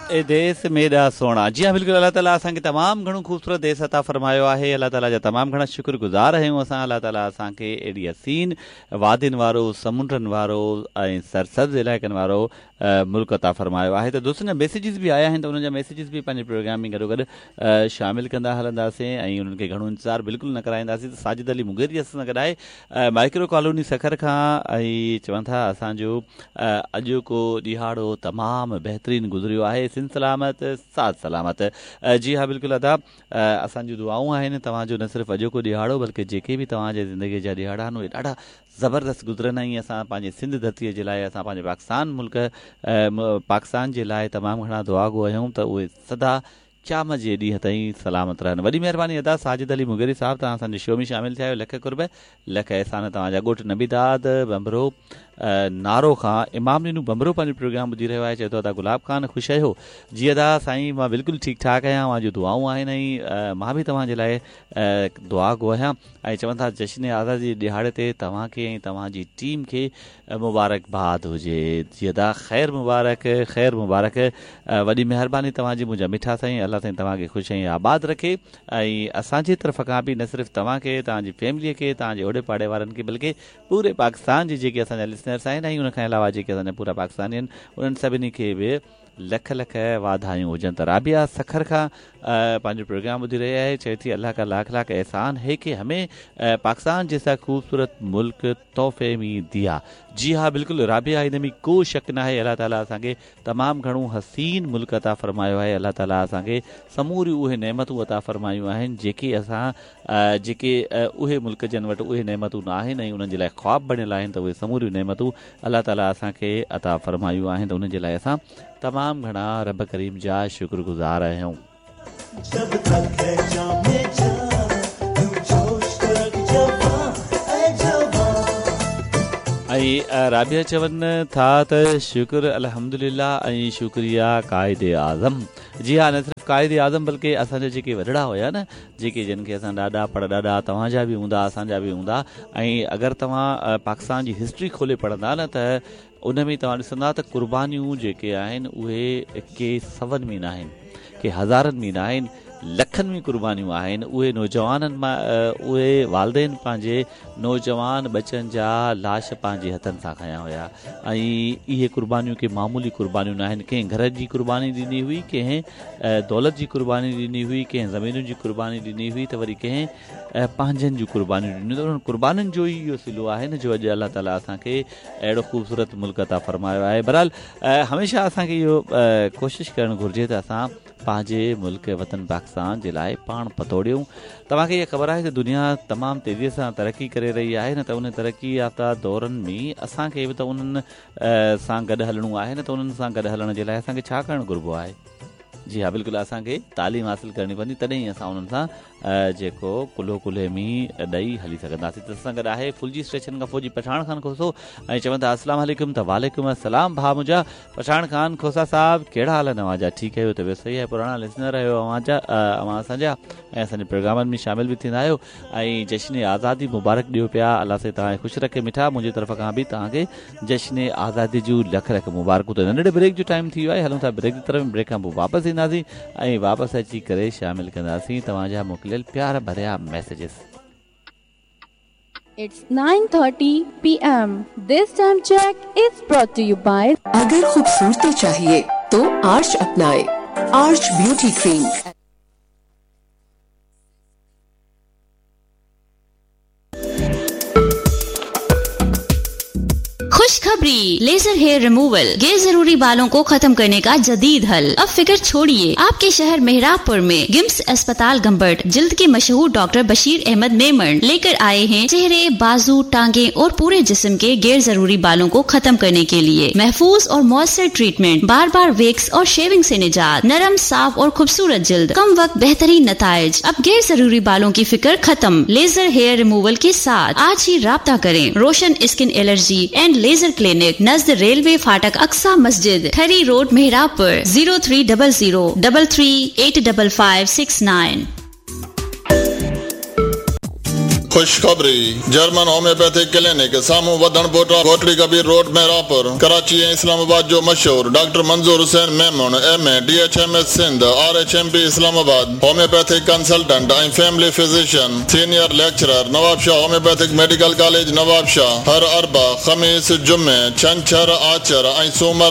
اي ديس ميڏا سهڻا. جي ها بلڪل الله تعالي اسان کي تمام گهڻو خوبصورت ديس عطا فرمايو آهي الله تعالي جا تمام گهڻا شڪر گذار آهيون اسان الله تعالي اسان کي اهڙي حسين وادين وارو سمنڊن وارو ۽ سرسبز علائقن وارو ملڪ عطا فرمايو آهي ته دوستن جا ميسيجز به آيا آهن ته انهن جا ميسيجز به پنهنجي پروگرام ۾ گڏوگڏ شامل ڪندا هلنداسين ۽ انهن کي گهڻو انتظار بلڪل نه ڪرائينداسين ته ساجد علي مغيري اسان سان گڏ آهي مائڪرو ڪالوني سکر کان ۽ چون ٿا اسان جو اڄوڪو ڏهاڙو تمام بهترين گذريو آهي سنڌ سلامت ساٿ سلامت جي ها بلڪل ادا اسان جون دعائون آهن توهان جو نه صرف اڄوڪو ڏهاڙو بلڪه جيڪي به توهان جي زندگي جا ڏهاڙا آهن اهي ڏاڍا زبردست گذرن ۽ اسان پنهنجي سنڌ ڌرتي جي لاء اسان پنهنجي پاڪستان ملڪ پاڪستان جي لاء تمام گهڻا دعاگو آهيون ته اهي سدا قيامت جي ڏينهن تائين سلامت رهن. وڏي مهرباني ادا ساجد علي مغيري صاحب توهان اسان جي شو ۾ شامل ٿيا آهيو لک قرب لک احسان توهان جا ڳوٺ نبي داد ڀنڀرو نارو کان امام ڏنو ڀنڀرو پنهنجو پروگرام ٻڌي رهيو آهي چئي ٿو ادا گلاب خان خوش آهيو جي ادا سائين مان بلڪل ٺيڪ ٺاڪ آهيان اوهان جون دعائون آهن ۽ مان به توهان جي لاء دعا گو آهيان ۽ چون ٿا جشن آزادي جي ڏهاڙي تي توهان کي ۽ توهان جي ٽيم کي مبارڪ باد هجي. جي ادا خير مبارڪ خير مبارڪ وڏي مهرباني توهان جي منهنجا مٺا سائين الله سائين توهان کي خوش ۽ آباد رکي ۽ اسان جي طرف کان به نه صرف توهان کي توهان جي فيملي کي توهان جي اوڙي پاڙي وارن کي بلڪه پوري پاڪستان جي جيڪي اسان جا لسنرس آهن ۽ ان کان علاوه جيڪي اسان جا پورا پاڪستاني آهن انهن سڀني کي به لک لک واڌايون هجن ته رابعه سکر کان پنهنجو پروگرام ٻڌي رهي آهي چئي ٿي الله کا لاک لاک احسان هي ڪي همي پاڪستان جيسا خوبصورت ملڪ تحفي ۾ ديا جي ها بلڪل رابعه ان ۾ ڪو شڪ ناهي الله تعالي اسان کي تمام گهڻو حسين ملڪ عطا فرمايو آهي الله تعالي اسان کي سموريون اهي نعمتون عطا فرمايون آهن جيڪي اسان جيڪي اهي ملڪ جن وٽ اهي نعمتون ناهن ۽ انهن جي لاء خواب بڻيل آهن ته اهي سموريون نعمتون الله تعالي اسان کي عطا فرمايون آهن ته انهن جي لاء اسان تمام گهڻا رب ڪريم جا شڪر گذار آهيون. جب تڪ هي جان ۾ جان يون جوش تو رک جوان اي جوان. ۽ رابعه چون ٿا ته شڪر الحمدلله ۽ شڪريه قائد اعظم جي ها نه صرف قائد اعظم بلڪه اسان جا جيڪي وڏڙا هيا نه جيڪي جن کي اسان ڏاڏا پڙ ڏاڏا توهان جا به هوندا اسان جا به هوندا ۽ اگر توهان پاڪستان جي هسٽري کولي پڙهندا نه ته ان ۾ توهان ڏسندا ته قربانيون جيڪي آهن اهي ڪي سون ۾ ناهن ڪي هزارن ۾ ناهن لکن ۾ قربانيون آهن اهي نوجوانن مان اهي والدين پنهنجي نوجوان ٻچن جا لاش پنهنجي هٿن سان کنيا هيا ۽ اهي قربانيون ڪي معمولي قربانيون ناهن ڪنهن گهر جي قرباني ڏني هئي ڪنهن دولت جي قرباني ڏني هئي ڪنهن زمينن جي قرباني ڏني هئي ته وري ڪنهن پنهنجن جون قربانيون ڏنيون ته انهن قربانين جو ئي اهو صلو آهي نه جو اڄ الله تعالي اسان کي اهڙو خوبصورت ملڪ عطا فرمايو آهي بهرحال هميشه اسان کي اهو ڪوشش ڪرڻ گهرجي ته اسان پنهنجي ملڪ وطن پاڪستان جي لاء پاڻ پتوڙيون توهان کي اها خبر آهي ته دنيا تمام تيزي سان ترقي ڪري رهي آهي نه ته ان ترقي يافته دورن ۾ اسان کي به ته انهن سان گڏ هلڻو آهي نه ته انهن سان گڏ هلڻ جي لاء اسان کي ڇا ڪرڻ گهربو آهي جي ها بلڪل اسان کي تعليم حاصل ڪرڻي پوندي تڏهن ئي اسان انهن سان جيڪو ڪلهو ڪلهي ۾ ڏئي هلي سگهنداسين ته اسان گڏ آهي ڦلجي اسٽيشن کان فوجي پٺاڻ خان کوسو ۽ چون ٿا السلام عليڪم ته وعليڪم السلام ڀاء منهنجا پٺاڻ خان کوسا صاحب ڪهڙا حال آهن اوهان جا ٺيڪ آهيو طبيعت صحيح آهي پراڻا لسنر آهيو اوهان جا اوهان اسان جا ۽ اسان جي پروگرامن ۾ شامل به ٿيندا آهيو ۽ جشن آزادي مبارڪ ڏيو پيا الله سائين توهان کي خوش رکي مٺا منهنجي طرف کان به توهان کي جشن آزادي جون لک لک مبارڪون ته ننڍڙي بريڪ جو ٽائيم ٿي ويو آهي هلون ٿا بريڪ جي طرف بريڪ کان پوء واپس اينداسين ۽ واپس اچي ڪري شامل ڪنداسين توهان جا موڪليل پيار ڀريا messages. It's 9:30 PM. This time check is brought to you by. اگر خوبصورتي چاهيي تو آرچ اپنائي آرچ بيوٽي ڪريم. खुशखबरी लेजर हेयर रिमूवल गैर जरूरी बालों को खत्म करने का जदीद हल अब फिक्र छोड़िए आपके शहर मेहराबपुर में गिम्स अस्पताल गंबट जिल्द के मशहूर डॉक्टर बशीर अहमद मेमन लेकर आए हैं चेहरे बाजू टांगे और पूरे जिस्म के गैर जरूरी बालों को खत्म करने के लिए महफूज और मौसर ट्रीटमेंट बार बार वेक्स और शेविंग से निजात नरम साफ और खूबसूरत जिल्द कम वक्त बेहतरीन नताइज अब गैर जरूरी बालों की फिक्र खत्म लेजर हेयर रिमूवल के साथ आज ही राब्ता करें Roshan skin allergy and laser clinic नज़द रेलवे फाटक अक्सा मस्जिद Thari road Mehrabpur zero three double zero double three eight double five six nine. خوشخبري، جرمن هوميوپيٿڪ ڪلينڪ، سامهون وڌڻ پوٽا، ڪوٽڙي ڪبير روڊ محرابپور، ڪراچي ۽ اسلام آباد جو مشهور doctor Manzoor Hussain Memon, M A, D H M S Sindh, R H M P Islamabad, homeopathic consultant ۽ family physician, senior lecturer, Nawabshah homeopathic medical college Nawabshah, هر اربع، خميس، جمعي، ڇنڇر، آچر ۽ سومر.